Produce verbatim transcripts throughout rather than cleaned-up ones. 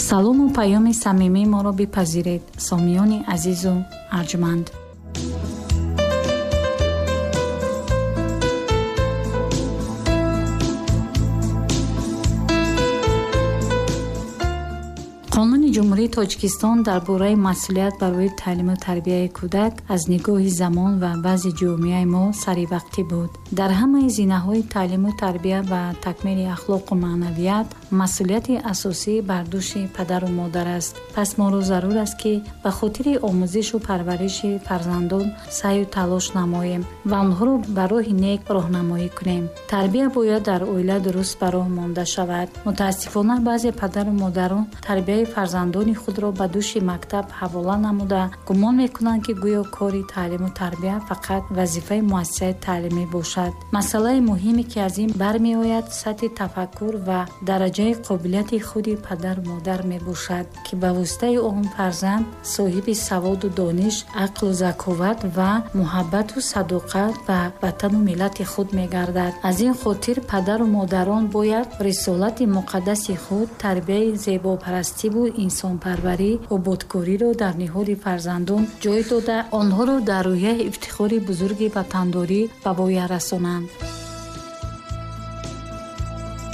Салому паёми самимии моро бипазиред, сомиёни азизу арҷманд. Қонуни Ҷумҳурии Тоҷикистон дар бораи масъулият барои таълиму тарбияи кӯдак аз нигоҳи замон ва вазъи ҷомеаи мо саривақтӣ буд. Дар ҳамаи зинаҳои таълиму тарбия ва такмили ахлоқу маънавият масъулияти асосӣ бар дӯши падару модар аст. Пас моро зарур аст, ки ба хотири омӯзишу парвариши фарзандон саъю талош намоем ва онҳоро ба роҳи нек роҳнамоӣ кунем. Тарбия бояд дар оила дуруст ба роҳ монда шавад. Мутаассифона, баъзе падару модарон тарбияи фарзандони худро ба дӯши мактаб ҳавола намуда, гумон мекунанд, ки гӯё кори таълиму тарбия фақат вазифаи муассисаи таълимӣ бошад. Масъалаи муҳиме, ки аз ин бармеояд, сатҳи тафаккур ва дараҷаи қобилияти худи падару модар мебошад, ки ба воситаи он фарзанд соҳиби саводу дониш, ақлу заковат ва муҳаббату садоқат ба ватану миллати худ мегардад. Аз ин хотир падару модарон бояд рисолати муқаддаси худ, тарбияи зебопарастиву инсонпарварӣ, ободкориро дар ниҳоди фарзандон ҷой дода, онҳоро дар рӯҳияи ифтихори бузурги ватандорӣ ба воя расонанд.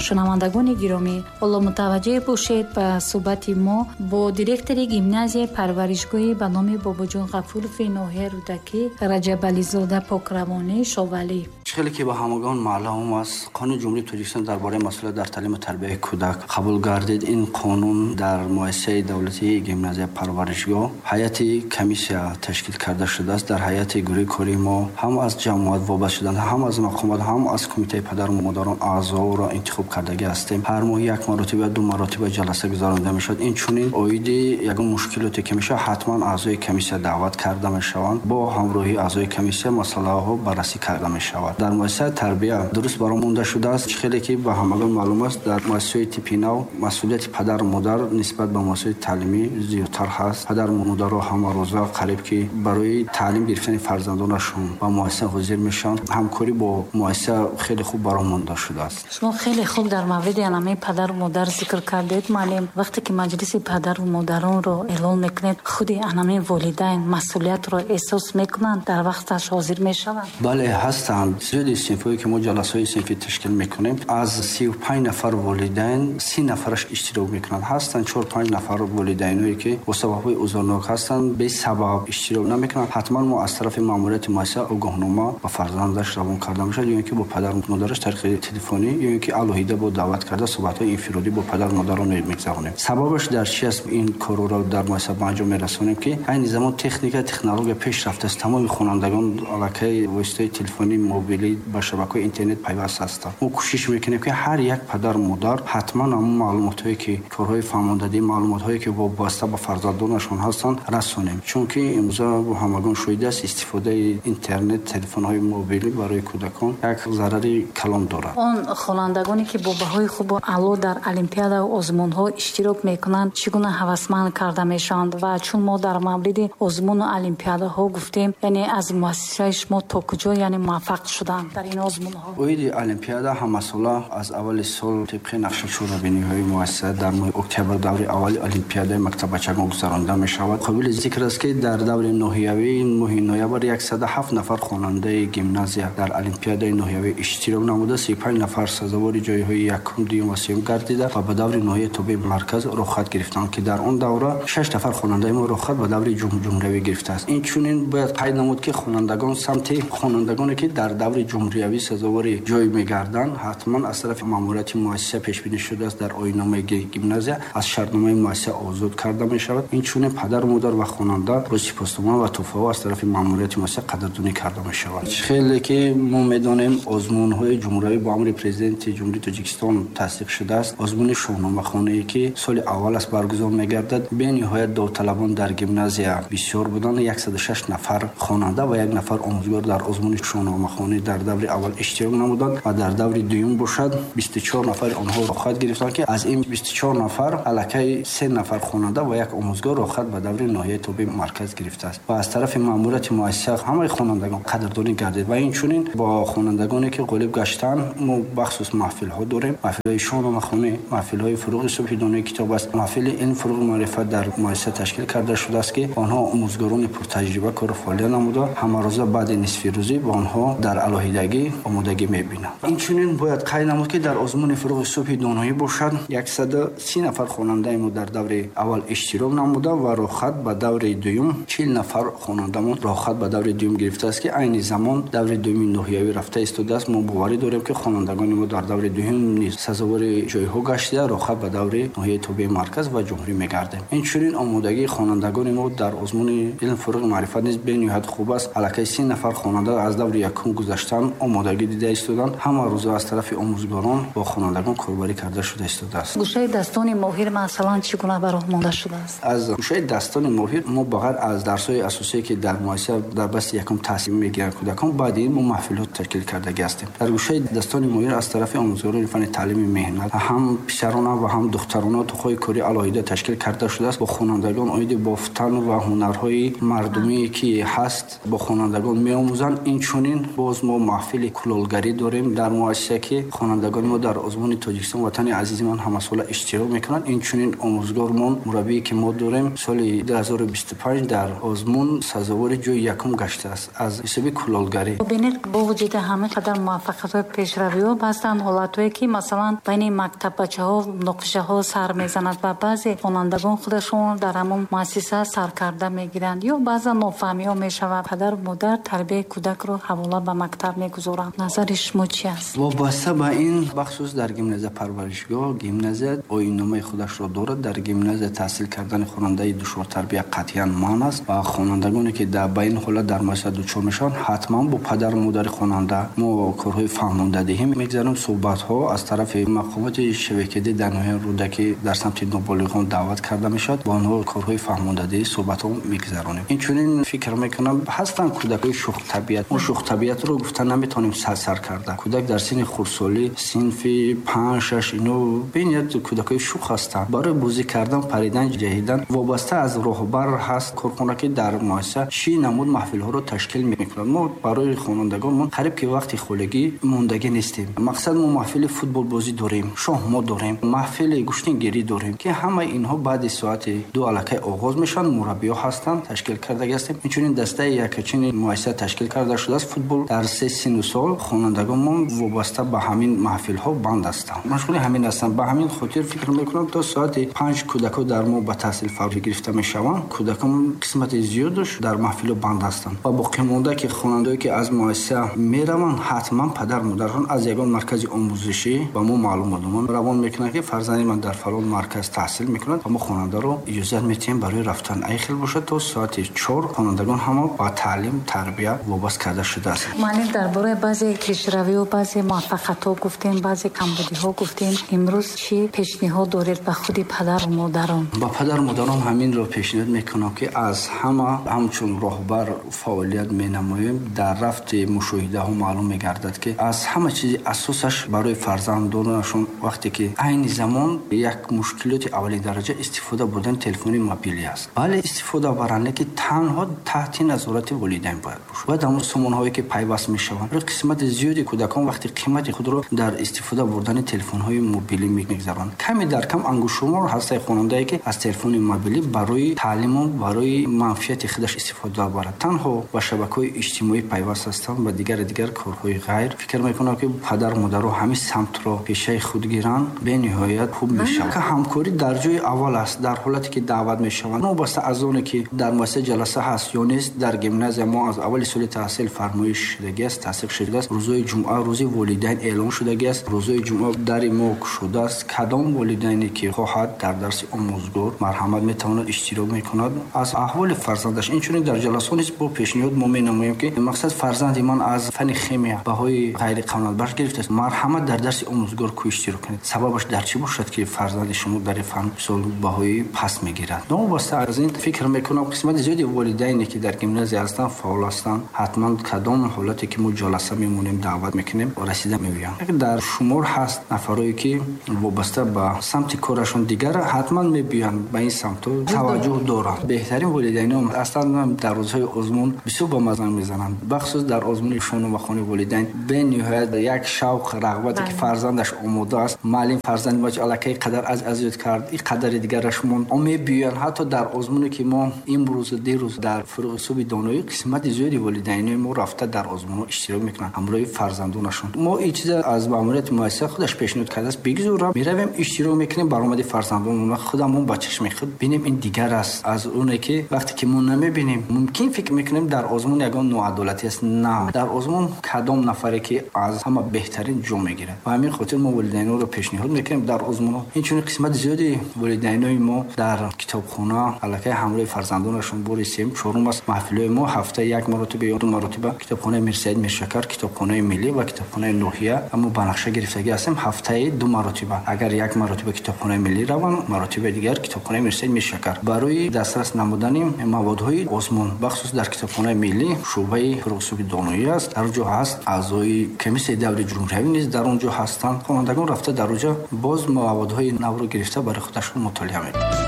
Шунавандагони гиромӣ, ҳоло мутаваҷҷеҳ бошед ба суҳбати мо бо директори гимназияи парваришгоҳи ба номи Бобоҷон Ғафурови ноҳияи Рӯдакӣ Раҷабализода Покравонӣ Шовалӣ. Чӣ хеле ки ба ҳамагон маълум аст, Қонуни Ҷумҳурии Тоҷикистон дар бораи масъулият дар таълиму тарбияи кӯдак қабул гардид. Ин қонун дар муассисаи давлатии гимназия парваришгоҳ ҳайати комиссия ташкил карда шудааст. Дар ҳайати гурӯҳи кории мо ҳам аз ҷамоат вобаста шуданд, ҳам аз мақомот, ҳам аз кумитаи падару модарон аъзоро интихоб кардагӣ ҳастем. Ҳар моҳ як маротиба, ду маротиба ҷаласа гузаронида мешавад. Инчунин оиди ягон мушкилоте ки мешавад, ҳатман аъзои комиссия даъват карда мешаванд. Бо ҳамроҳии аъзои комиссия масъалаҳо баррасӣ карда мешавад. Дар муассисаи тарбия дуруст баром монда шудааст. Чӣ хеле ки ба ҳамагон маълум аст, дар муассисаи типи нав масъулияти падару модар нисбат ба муассисаи таълимӣ зиёдтар ҳаст. Падару модаро ҳамарӯза қариб ки барои таълим гирифтани фарзандонашон ба муассиса ҳозир мешаванд. Ҳамкорӣ бо муассиса хеле хуб баром монда шудааст. Шумо хеле хуб дар мавриди анамаи падару модар зикр кардед, муаллим. Вақте ки маҷлиси падару модаронро эълон мекунед, худи анамаи волидайн масъулиятро эҳсос мекунанд, дар вақташ ҳозир мешаванд? Бале, ҳастанд. Зиёди синфҳое ки мо ҷаласаҳои синфӣ ташкил мекунем, аз сию панҷ нафар волидайн си нафараш иштирок мекунанд. Ҳастанд чор панҷ нафар волидайное ки бо сабабҳои узрнок ҳастанд, бесабаб иштирок намекунанд. Ҳатман мо аз тарафи маъмурияти муассиса огоҳнома ба фарзандаш равон карда мешавад, ё ин ки бо падару модараш тариқи телефонӣ, ё ин ки алоҳида бо даъват карда суҳбатҳои инфиродӣ бо падару модарон мегузаронем. Сабабаш дар чи аст? Ин корро дар муассиса ба анҷом мерасонем, ки айни замон техника, технология пеш рафтааст. Тамоми хонандагон аллакай воситаи телефонӣ, мобилӣ ба шабакаҳои интернет пайваст ҳастанд. Мо кӯшиш мекунем, ки ҳар як падару модар ҳатман ҳамон маълумотҳое ки корҳои фаҳмондадӣ, маълумотҳое ки вобаста ба фарзандонашон ҳастанд, расонем. Чунки имрӯза ҳамагон шоҳид аст, истифодаи интернет, телефонҳои мобилӣ барои кӯдакон як зарари калон дорад. Он хонандагоне ки бо баҳои хубу аъло дар олимпиада ва озмунҳо иштирок мекунанд, чӣ гуна ҳавасманд карда мешаванд? Ва чун мо дар мавриди озмуну олимпиадаҳо гуфтем, яъне аз муассисаи шумо то куҷо яъне муваффақ шуданд дар ин озмунҳо? Оиди олимпиада ҳамасола аз аввали сол тибқи нақшаи чорабиниҳои муассиса дар моҳи октябр даври аввали олимпиадаи мактаббачагон гузаронида мешавад. Қобили зикр аст, ки дар даври ноҳиявӣ моҳи ноябр яксаду ҳафт нафар хонандаи гимназия дар олимпиадаи ноҳиявӣ иштирок намуда, сию панҷ нафар сазовори ҷойҳои якум, дуюм ва сеюм гардида ва ба даври ноҳияи тобеи марказ роҳхат гирифтанд, ки дар он давра шаш нафар хонандаи мо роҳхат ба даври ҷумҳуриявӣ гирифтааст. Инчунин бояд қайд намуд, ки хонандагон самти хонандагоне ки дар даври ҷумҳуриявӣ сазовори ҷой мегарданд, ҳатман аз тарафи маъмурияти муассиса пешбинӣ шудааст, дар оинномаи гимназия аз шартномаи муассиса озод карда мешавад. Инчунин падару модар ва хонанда бо сипоснома ва тӯҳфаҳо аз тарафи маъмурияти муассиса қадрдонӣ карда мешавад. Хеле ки мо медонем, озмунҳои ҷумҳуриявӣ бо амри президенти Ҷумҳурии Тоҷикистон тасдиқ шудааст. Озмуни шоҳномахонае ки соли аввал аст баргузор мегардад, бениҳоят довталабон дар гимназия бисёр буданд. яксаду шаш нафар хонанда ва як нафар омӯзгор дар озмуни шоҳномахонӣ дар даври аввал иштирок намуданд ва дар даври дуюм бошад бисту чор нафари онҳо роҳхат гирифтанд, ки аз ин бисту чор нафар аллакай се нафар хонанда ва як омӯзгор роҳхат ба даври ноҳияи тобеи марказ гирифтааст. Ва аз тарафи маъмурияти муассиса ҳамаи хонандагон қадрдонӣ гардид ва инчунин бо хонандагоне ки ғолиб гаштанд мо бахсус маҳфилҳо дорем. Маҳфилҳои шоҳномахонӣ, маҳфилҳои фурӯғи субҳи донои китоб аст. Маҳфили илм фурӯғи маърифат дар муассиса ташкил карда шудааст, ки онҳо омӯзгорони пуртаҷриба кору фаъолият намуда, ҳамарӯза баъди нисфирӯзӣ ба онҳо дар алоҳидагӣ омодагӣ мебинанд. Инчунин бояд қайд намуд, ки дар озмуни фурӯғи субҳи доноӣ бошад яксаду си нафар хонандаи мо дар даври аввал иштирок намуда ва роҳхат ба даври дуюм чил нафар хонандамон роҳхат ба даври дуюм гирифтааст, ки айни замон даври дуюми ноҳиявӣ рафта истодааст. Мо боварӣ дорем, ки хонандагони мо дар даври дуюм низ сазовори ҷойҳо гаштида роҳхат ба даври ноҳияи тобеи марказ ва ҷумҳурӣ мегардем. Инчунин омодагии хонандагони мо дар озмуни илм фурӯғи маърифат низ бениҳоят хуб аст. Аллакай си нафар хонанда аз даври якум гузаштан омодагӣ дида истоданд. Ҳама рӯза аз тарафи омӯзгорон бо хонандагон корбарӣ карда шуда истодааст. Гӯшаи дастони моҳир масалан чӣ гуна ба роҳ монда шудааст? Аз гӯшаи дастони моҳир мо ба ғайр аз дарсҳои асосие, ки дар муассиса дар басти якум таҳсил мегиранд кӯдакон, баъди ин мо маҳфилҳо ташкил кардагӣ ҳастем. Дар гӯшаи дастони моҳир аз тарафи омӯзгорони фанни таълими меҳнат ҳам писарона ва ҳам духтарона тоқҳои корӣ алоҳида ташкил карда шудааст. Бо хонандагон оиди бофтан ва ҳунарҳои мардумие, ки ҳаст, бо хонандагон меомӯзанд. Инчунин боз мо маҳфили кулолгарӣ дорем дар муассиса, ки хонандагони мо дар озмуни Тоҷикистон ватани азизи ман ҳамасола иштирок мекунанд. Инчунин омӯзгормон, мураббие, ки мо дорем, соли ду ҳазору бисту панҷ дар озмун сазовори ҷои якум гаштааст аз ҳисоби кулолгарӣ. Бубинед, бо вуҷуди ҳама қадар муваффақиятҳои пешравиҳо ҳастанд ҳолатҳое, ки масалан байни мактаббачаҳо муноқишаҳо сар мезанад ва баъзе хонандагон худашон дар ҳамон муассиса саркарда мегиранд ё баъзан нофаҳмиҳо мешавад. Падару модар тарбияи кӯдакро ҳавола ба мактаб мегузоранд. Назари шумо чи аст? Вобаста ба ин, бахусус дар гимназия парваришгоҳ, гимназия оинномаи худашро дорад. Дар гимназия таҳсил кардани хонандаи душвортарбия қатъиян манъ аст ва хонандагоне, ки ба ин ҳолат дар муассиса дучор мешаванд, ҳатман бо падару модари хонанда мо корҳои фаҳмондадиҳӣ мегузарем. Суҳбатҳо аз тарафи мақомоти шабакадӣ дар ноҳияи Рӯдакӣ дар самти ноболиғон даъват карда мешавад, бо онҳо корҳои фаҳмондадиҳӣ суҳбатҳо мегузаронем. Инчунин фикр мекунам ҳастанд кӯдакҳои шӯхтабиат. Мо шӯхтабиатро гуфта наметавонем сарсар карда. Кӯдак дар синни хурдсолӣ, синфи панҷ шаш, ино бениҳоят кӯдакҳои шӯх ҳастанд. Барои бозӣ кардан, паридан, ҷаҳидан вобаста аз роҳбар ҳаст корхона, ки дар муассиса чӣ намуд маҳфилҳоро ташкил мекунад. Мо барои хонандагонмон қариб ки вақти холигӣ мондагӣ нестем. Мақсад мо маҳфили футболбозӣ дорем, шоҳмот дорем, маҳфили гӯштингирӣ дорем, ки ҳамаи инҳо баъди соати ду аллакай оғоз мешаванд. Мураббиҳо ҳастанд, ташкил кардагӣ ҳастем. Инчунин дастаи якачини муассиса ташкил карда шудааст. Футбол дар се сину сол хонандагонмон вобаста ба ҳамин маҳфилҳо банд ҳастанд, машғули ҳамин ҳастанд. Ба ҳамин хотир фикр мекунам то соати панҷ кӯдакҳо дар мо ба таҳсил фаро гирифта мешаванд. Кӯдакон қисмати зиёдаш дар маҳфилҳо банд ҳастанд ва боқимонда, ки хонандае, ки аз муассиса мераванд, ҳатман падар модарашон аз ягон маркази омӯзишӣ ба мо маълумот равон мекунанд, ки фарзанди ман дар фалон марказ таҳсил мекунад ва мо хонандаро иҷозат медиҳем барои рафтан. Ай хел бошад то соати чор хонандагон ҳама ба таълим тарбия вобаст карда шудааст. Муаллим, дар бораи баъзе пешравиҳо, баъзе муваффақиятҳо гуфтем, баъзе камбудиҳо гуфтем. Имрӯз чӣ пешниҳод доред ба худи падару модарон? Ба падару модарон ҳаминро пешниҳод мекунам, ки аз ҳама ҳамчун роҳбар фаъолият менамоем. Дар рафти мушоҳидаҳо маълум мегардад, ки аз ҳама чизи асосаш барои фарзандонашон вақте ки айни замон як мушкилоти аввалин дараҷа истифода бурдани телефони мобилӣ аст. Бале, истифода баранд, лекин танҳо таҳти назорати волидайн бояд бошад. Бояд ҳамон сомонаҳое, ки пайваст мешаванд. Қисмати зиёди кӯдакон вақти қимати худро дар истифода бурдани телефонҳои мобилӣ мегузаронанд. Ками дар кам ангуштшумор ҳастаи хонандае, ки аз телефони мобилӣ барои таълиму барои манфиати худаш истифода барад. Танҳо ба шабакаҳои иҷтимоӣ пайваст ҳастанд ва дигар дигар корҳои ғайр. Фикр мекунам, ки падару модаро ҳамин самтро пешаи худ гиранд, бениҳоят хуб мешавад. Ҳамкорӣ дар ҷои аввал аст. Дар ҳолате ки даъват мешаванд, новобаста аз оне ки дар муассиса ҷаласа ҳаст ё нест, дар гимназия мо аз аввали соли таҳсил фармоиш шудагӣ аст, тасдиқ шудааст. Рӯзҳои ҷумъа рӯзи волидайн эълон шудагӣ аст. Рӯзҳои ҷумъа дари мо кушодааст. Кадом волидайне ки хоҳад дар дарси омӯзгор марҳамат метавонад иштирок мекунад аз аҳволи фарзандаш. Инчунин дар ҷаласаҳо низ бо пешниҳод мо менамоем, ки мақсад фарзанди ман аз фанни химия баҳои ғайриқаноатбахш гирифтааст, марҳамат дар дарси омӯзгор ку иштирок кунед. Сабабаш дар чӣ бошад, ки фарзанди шумо дар фан мисол баҳои паст мегирад? Новобаста аз ин фикр мекунам қисмати зиёди волидайне, ки дар гимназия ҳастанд, фаъол ҳастанд, ҳатман кадом ҳолате ки мо ҷаласа мемонем, даъват мекунем, расида меоянд. Дар шумор ҳаст нафарое, ки вобаста ба самти корашон дигар ҳатман мебиёянд, ба ин самтҳо таваҷҷӯҳ доранд. Беҳтарин волидайнон ҳастанд. Дар рӯзҳои озмун бисёр ба маза мезананд. Бахусус дар озмуни шоҳномахонии волидайн бениҳоят як шавқ, рағбате ки Фарзандаш омода аст, муаллим фарзанди мо аллакай қадар аз азиёт кард, ин қадари дигараш монд. Мебиёянд ҳатто дар озмуне ки мо имрӯз дирӯз дар Фурӯғи субҳи доноӣ қисмати зиёди волидайнои мо рафта дар озмунҳо иштирок мекунанд ҳамроҳи фарзандонашон. Мо ин чиза аз маъмурияти муассиса худаш пешниҳод кардааст, бигзор меравем, иштирок мекунем, баромади фарзандонамон худамон ба чашми худ бинем. Ин дигар аст аз оне ки вақте ки мо намебинем, мумкин фикр мекунем дар озмун ягон ноадолатӣ аст. На, дар озмун кадом нафаре ки аз ҳама беҳтарин ҷо мегирад. Ба ҳамин хотир мо волидайнонро пешниҳод мекунем дар озмунҳо. Инчунин қисмати зиёди волидайнои мо дар китобхона аллакай ҳамроҳи фарзандонашон бори сеюм чорум аст маҳфилҳои мо ҳафта як маротиба ё ду маротиба китобхонаи Мирсаид Миршакар, китобхонаи миллӣ ва китобхонаи ноҳия мо ба нақша гирифтагӣ ҳастем ҳафтаи ду маротиба. Агар як маротиба китобхонаи миллӣ раванд, маротибаи дигар китобхонаи Мирсаид Миршакар барои дастрас намудани маводҳои озмун, бахусус дар китобхонаи миллӣ шӯъбаи Фурӯғи субҳи доноӣ аст, дар он ҷо ҳаст аъзои комиссияи даври ҷумҳуриявӣ низ дар он ҷо ҳастанд. Хонандагон рафта дар он ҷо боз маводҳои навро гирифта барои худашон мутолиа мекунанд.